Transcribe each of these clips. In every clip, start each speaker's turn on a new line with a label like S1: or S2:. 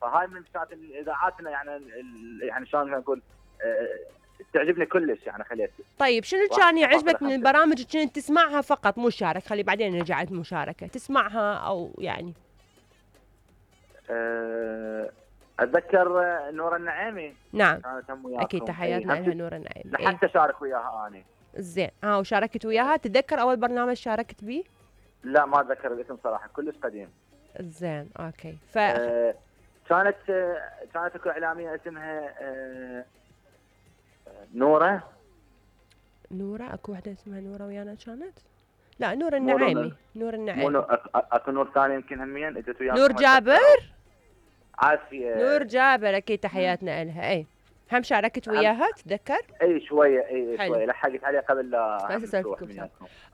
S1: فهاي من كانت اذاعاتنا يعني يعني شلون نقول تعجبني كلش يعني خليت.
S2: طيب شنو كان يعجبك من البرامج اللي كنت تسمعها فقط مو شارك؟ خلي بعدين نرجع المشاركه تسمعها او يعني.
S1: اتذكر نور النعيمي.
S2: نعم
S1: كانت هم وياكم.
S2: اكيد تحياتنا لها نور النعيمي.
S1: لحتى شارك وياها اني.
S2: زين وشاركت وياها. تتذكر اول برنامج شاركت بيه؟
S1: لا ما اتذكر الاسم صراحه كلش قديم.
S2: زين اوكي.
S1: كانت اكو اعلاميه اسمها نوره.
S2: اكو وحده اسمها نوره ويانا كانت؟ لا نور النعيمي. نور النعيمي.
S1: اكو نور ثاني يمكن همين اجت وياكم.
S2: نور جابر.
S1: عافيه.
S2: نور جابر اكيد تحياتنا لها. اي هم شاركت وياها تتذكر؟
S1: اي شويه شويه لحقت عليه قبل لا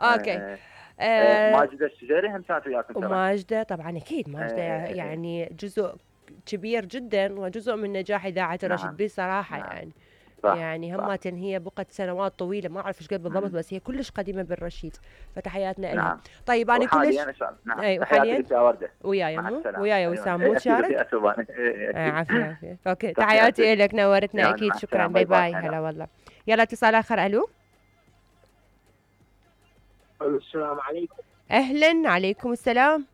S2: اوكي.
S1: ماجده الشجيري هم كانت وياكم.
S2: وماجده طبعا اكيد ماجده يعني جزء كبير جدا وجزء من نجاح اذاعه الرشيد بيه صراحه. يعني صح يعني همات هي بقت سنوات طويله ما اعرف ايش قد بالضبط بس هي كلش قديمه بالرشيد فتحياتنا لها. طيب انا كلش
S1: اي وحاليا
S2: وياي وسام مو شارك. عافيه اوكي تحياتي لك نورتنا اكيد شكرا باي باي. هلا والله. يلا اتصال اخر. الو
S3: السلام عليكم.
S2: اهلا عليكم السلام.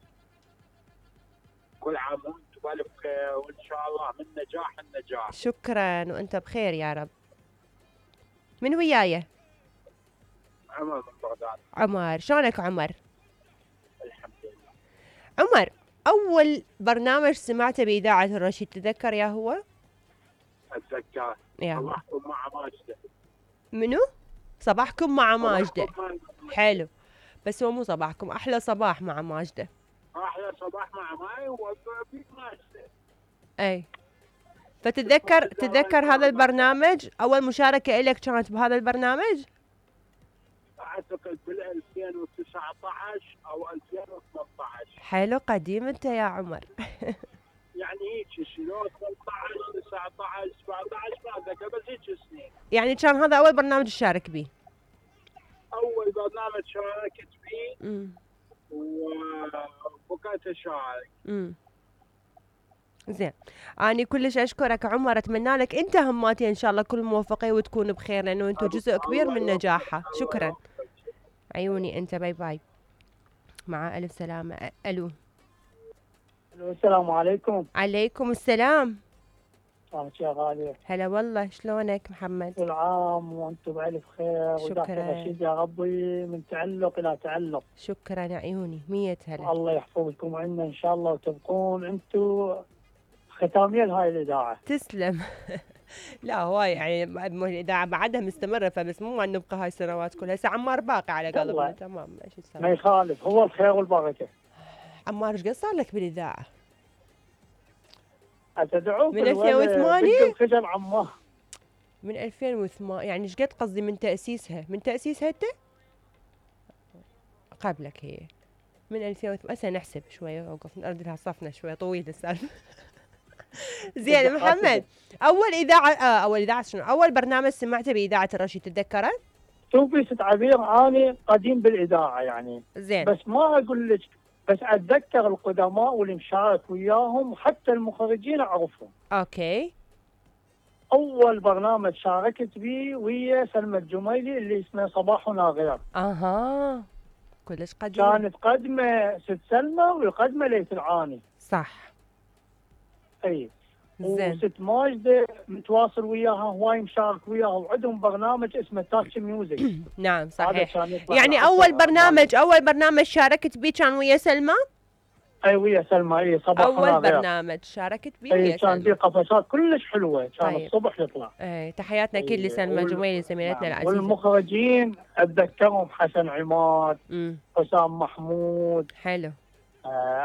S3: كل عام وانتم بالف خير وان شاء الله من نجاح النجاح.
S2: شكرا وانت بخير يا رب. من وياي؟
S3: عمر من بغداد.
S2: عمر شلونك عمر؟
S3: الحمد لله.
S2: عمر اول برنامج سمعته باذاعه الرشيد تتذكر يا هو؟
S3: اتذكر. صباحكم مع ماجده.
S2: منو؟ صباحكم مع ماجده. حلو بس هو مو صباحكم احلى صباح مع ماجده.
S3: احلى صباح مع ماي وبيك ماجده.
S2: اي تتذكر هذا البرنامج؟ اول مشاركه لك كانت بهذا البرنامج؟
S3: اعتقد بال 2019 او 2018.
S2: حلو قديم انت يا عمر.
S3: يعني هيك شنو 18 19 17 ما اتذكر بس هيك سنين.
S2: يعني كان هذا اول برنامج تشارك به؟
S3: اول برنامج شاركت فيه وبقيت اشارك.
S2: زين أنا كلش أشكرك عمر أتمنى لك أنت هماتي إن شاء الله كل موفقية وتكون بخير لأنه أنتم جزء كبير من نجاحها. شكرا عيوني أنت باي باي. مع ألف سلامة. ألو
S4: السلام عليكم.
S2: عليكم السلام.
S4: يا غالية.
S2: هلا والله شلونك محمد؟
S4: كل عام وأنتم بألف خير.
S2: شكرا
S4: رشيد يا ربي من تعلق إلى تعلق.
S2: شكرا عيوني 100 هلا.
S4: الله يحفظكم عنا إن شاء الله وتبقون أنتم ختامية لهاي الإذاعة.
S2: تسلم. لا هو يعني الإذاعة بعدها مستمرة فبس مو أن نبقى هاي السنوات كلها. هسه عمار باقي على قلبنا تمام ايش السبب؟
S4: ما يخالف هو الخير والبركة.
S2: عمار ايش قد صار لك بالإذاعة؟
S4: أتدعوك
S2: من 2008
S4: خجل عمار.
S2: من 2008 يعني ايش قد قصدي من تأسيسها انت؟ قبلك هي من 2008. هسه نحسب شوية اوقف نرد لها صفنا شوية طويل السالفة. زين محمد اول اذاعه شنو اول برنامج سمعته باذاعه الرشيد تتذكره؟
S4: شوفي ست عبير اني قديم بالاذاعه يعني
S2: زين
S4: بس ما اقول لك بس اتذكر القدماء واللي مشارك وياهم وحتى المخرجين اعرفهم.
S2: اوكي.
S4: اول برنامج شاركت به ويا سلمى الجميلي اللي اسمه صباحنا غير.
S2: اها كلش قديم.
S4: كانت قدمه ست سلمى والقدمه ليث العاني.
S2: صح.
S4: اي وست ماجده متواصل وياها هواي مشارك وياها وعندهم برنامج اسمه تاتش ميوزك.
S2: نعم صحيح. يعني اول برنامج شاركت به كان ويا سلمى؟
S4: اي ويا سلمى. اي صباح
S2: اول برنامج شاركت به ويا
S4: سلمى. كان في قفشات كلش حلوه كان طيب. الصبح يطلع.
S2: اي تحياتنا اكيد لسلمى جميلي زميلتنا العزيزه.
S4: والمخرجين اتذكرهم حسن عماد حسام محمود.
S2: حلو.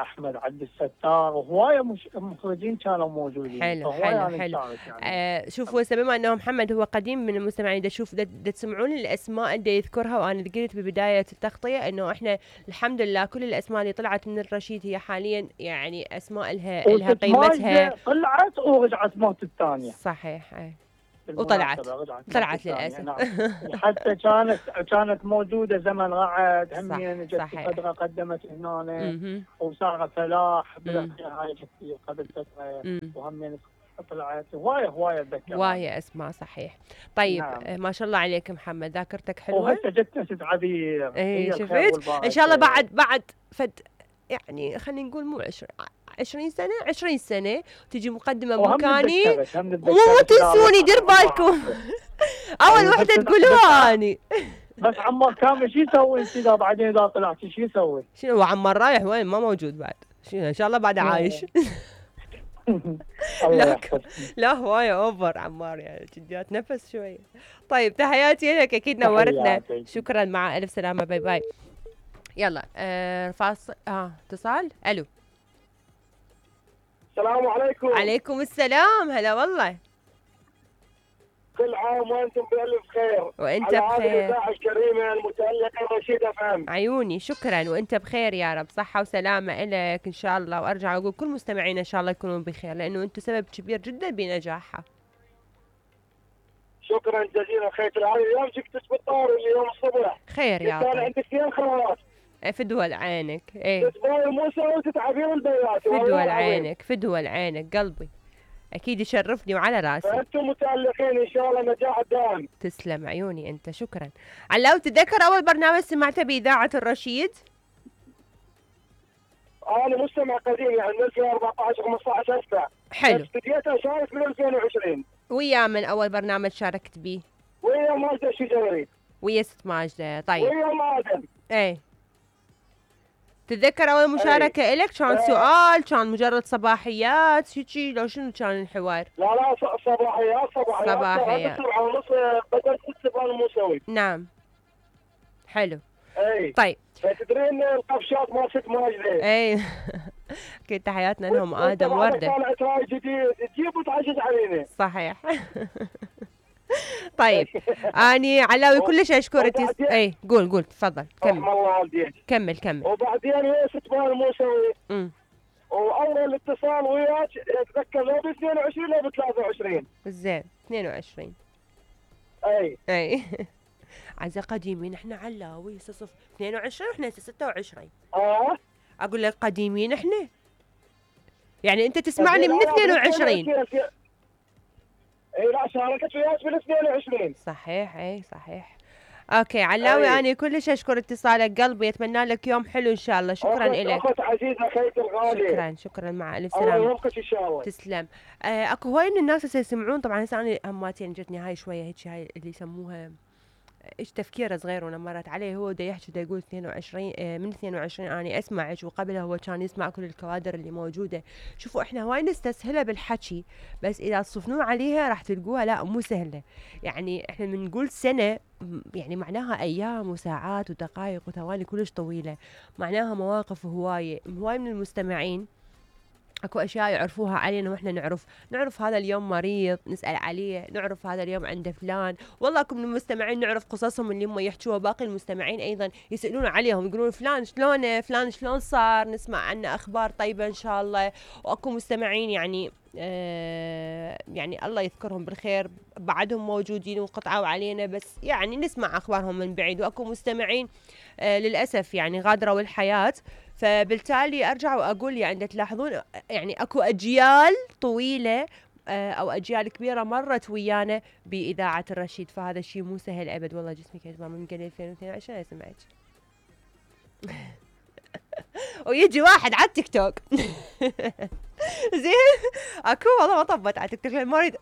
S4: احمد عبد الستار وهوايه مخرجين كانوا موجودين.
S2: حلو يعني. شوفوا هسه بما انه محمد هو قديم من المستمعين شوف تسمعون الاسماء اللي يذكرها وانا قلت ببدايه التغطيه انه احنا الحمد لله كل الاسماء اللي طلعت من الرشيد هي حاليا يعني اسماء لها قيمتها.
S4: طلعت ورجعت موت الثانيه.
S2: صحيح. وطلعت للاسف.
S4: نعم. حتى كانت موجوده زمن رعد همين جت فتره قدمت هنا وصارت فلاح هاي قبل فتره وهمين طلعت هوايه اتذكر
S2: هوايه اسماء صحيح. طيب نعم. ما شاء الله عليك محمد، ذاكرتك حلوه.
S4: وهسه جت اسد عبير.
S2: اي شفت ان شاء الله بعد فد يعني خلينا نقول مو 20 سنه تجي مقدمه بمكاني مو تنسوني، دير بالكم. اول وحده تقولوها اني.
S4: بس عمار كامل شو يسوي انت اذا بعدين اذا طلعت شو يسوي؟
S2: شنو عمار رايح وين؟ ما موجود بعد. شنو ان شاء الله بعد عايش. لا هواية اوفر عمار يعني جديات نفس شوية. طيب تحياتي لك، اكيد نورتنا. شكرا، مع الف سلامة، باي باي. يلا فاصل اتصال. الو
S3: السلام عليكم.
S2: عليكم السلام، هلا والله.
S3: كل عام وانتم بألف خير.
S2: وانت بخير.
S3: على هذه الإذاعة الكريمة المتألقة رشيدة فهم.
S2: عيوني شكرا، وانت بخير يا رب، صحة وسلامة إلك ان شاء الله. وارجع اقول كل مستمعينا ان شاء الله يكونوا بخير، لانه انتم سبب كبير جدا بنجاحها.
S3: شكرا جزيلا خير. اليوم جبت بالطار اليوم الصبح.
S2: خير يا
S3: طيب. عندك 2 خوات.
S2: في دول عينك. ايه
S3: تتباوي موسى وتتعبين البيات.
S2: في دول عينك، في دول عينك قلبي، اكيد يشرفني وعلى راسي.
S3: فانتم متألقين ان شاء الله نجاح دائم.
S2: تسلم عيوني انت، شكرا. علاو تتذكر اول برنامج سمعته باذاعه الرشيد؟
S3: انا مستمع قديم يعني من 2014 15 اسمع.
S2: حلو.
S3: بديت اشارك من 2020.
S2: ويا من اول برنامج شاركت به؟
S3: ويا ماجدة الشجري.
S2: ويا ست ماجدة. طيب.
S3: ويا مادن.
S2: ايه تتذكر اول مشاركة الك كان سؤال، كان مجرد صباحيات هيجي لو شنو كان الحوار؟
S3: لا صباحيات. 7:30 بدل 6 الموسوي.
S2: نعم حلو.
S3: اي
S2: طيب
S3: تدرين القفشات مال ست ماجدة.
S2: اي اكيد تحياتنا لهم ادم وردة.
S3: طلعت راي جديد تجيب وتعجز علينا.
S2: صحيح. طيب اني علاوي كلش اشكرك. اي قول تفضل كمل. كمل.
S3: وبعدين هي ست مال الموسوي. واول اتصال وياك اتذكر لو ب 22 لو ب 23.
S2: زين 22. اي عزة قديمين احنا علاوي هسه 22 واحنا هسه 26. اقول لك قديمين احنا، يعني انت تسمعني من 22.
S3: اي لا شاركت وياك بال 22.
S2: صحيح. اي صحيح. اوكي علاوي انا كلش اشكر اتصالك قلبي، اتمنى لك يوم حلو ان شاء الله. شكرا لك
S3: اخت عزيزه خيتي الغاليه.
S2: شكرا مع الف سلامه.
S3: الله يوفقك ان شاء الله.
S2: تسلم. اكو هواي من الناس هسه يسمعون، طبعا هسه انا هماتي يعني جتني هاي شويه هيك هاي اللي يسموها ايش تفكيره صغير وانا مرت عليه. هو دا يحكي دا يقول 22 من 22 اني اسمعك، وقبلها هو كان يسمع كل الكوادر اللي موجوده. شوفوا احنا هواي نستسهلها بالحكي، بس اذا تصفنون عليها راح تلقوها لا مو سهله. يعني احنا من نقول سنه يعني معناها ايام وساعات ودقائق وثواني كلش طويله، معناها مواقف هوايه من المستمعين اكو اشياء يعرفوها علينا واحنا نعرف هذا اليوم مريض نسال عليه، نعرف هذا اليوم عنده فلان. والله اكو من المستمعين نعرف قصصهم اللي هم يحكوها، باقي المستمعين ايضا يسالون عليهم يقولون فلان شلونه، فلان شلون صار، نسمع عنه اخبار طيبه ان شاء الله. واكو مستمعين يعني يعني الله يذكرهم بالخير بعدهم موجودين وقطعوا علينا، بس يعني نسمع اخبارهم من بعيد. واكو مستمعين للاسف يعني غادروا الحياه. فبالتالي ارجع واقول يعني تلاحظون يعني اكو اجيال طويله او اجيال كبيره مرت ويانا باذاعه الرشيد، فهذا الشيء مو سهل ابد. والله جسمي كان من قبل 2022 سمعت. ويجي واحد على التيك توك زين اكو والله ما طبت على التيك توك،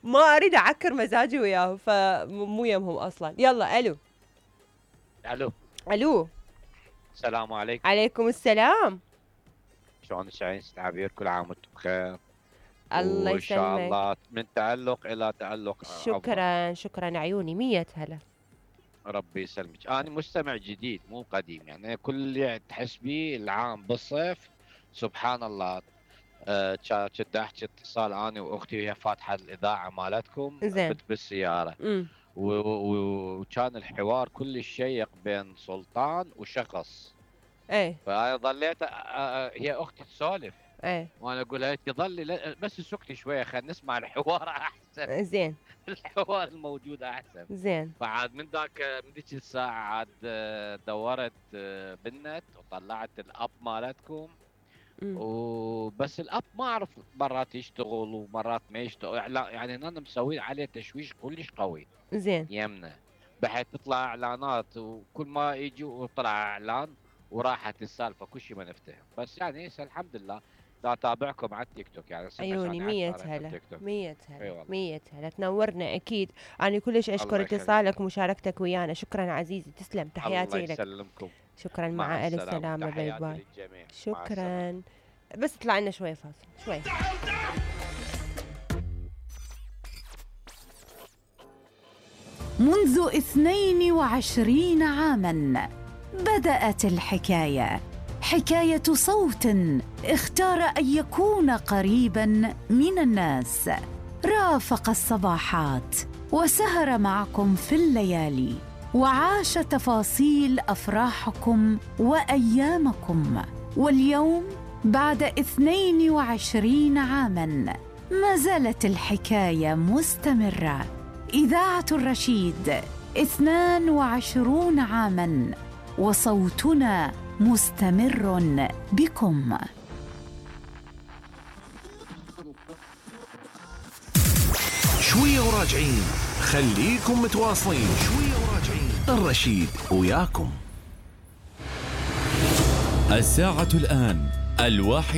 S2: ما اريد اعكر مزاجي وياه، فمو يمهم اصلا. يلا الو
S5: السلام عليكم.
S2: عليكم السلام.
S5: شلونك ست عبير؟ كل عام وانتم بخير.
S2: الله يسلمك.
S5: وان شاء الله من تألق الى تألق.
S2: شكرا عيوني 100 هلا.
S5: ربي يسلمك. انا مستمع جديد مو قديم، يعني كل اللي تحس بيه العام بالصيف سبحان الله. كنت احكي اتصال انا واختي وهي فاتحه الاذاعه مالتكم بالسياره، وكان الحوار كل شيق بين سلطان وشخص.
S2: ايه
S5: فظليت هي اختي تسولف وانا اقول لها تظلي بس سكتي شويه خلينا نسمع الحوار احسن.
S2: زين.
S5: الحوار الموجود احسن.
S2: زين.
S5: فعاد من ذيك الساعه عاد دورت بالنت وطلعت الاب مالتكم. وبس الاب ما اعرف مرات يشتغل ومرات ما يشتغل، يعني انا مسوي عليه تشويش كلش قوي.
S2: زين.
S5: يمنا بحيث تطلع اعلانات، وكل ما يجي وطلع اعلان وراحت السالفه كل شيء ما نفتهم. بس يعني هسه الحمد لله دا اتابعكم على التيك توك، يعني
S2: عيوني 100 هلا 100 هلا 100 هلا تنورنا اكيد. انا كلش اشكر اتصالك ومشاركتك ويانا. شكرا عزيزي، تسلم، تحياتي لك.
S5: الله يسلمكم.
S2: شكرا، مع الف سلامه، باي باي. شكرا. بس طلع لنا شوي فاصل شوي.
S6: منذ 22 عاماً بدأت الحكاية، حكاية صوت اختار أن يكون قريباً من الناس، رافق الصباحات وسهر معكم في الليالي، وعاش تفاصيل أفراحكم وأيامكم. واليوم بعد 22 عاماً ما زالت الحكاية مستمرة. إذاعة الرشيد 22 عاماً وصوتنا مستمر بكم.
S7: شوية وراجعين، خليكم متواصلين. شوية وراجعين، الرشيد وياكم.
S8: الساعة الآن 1.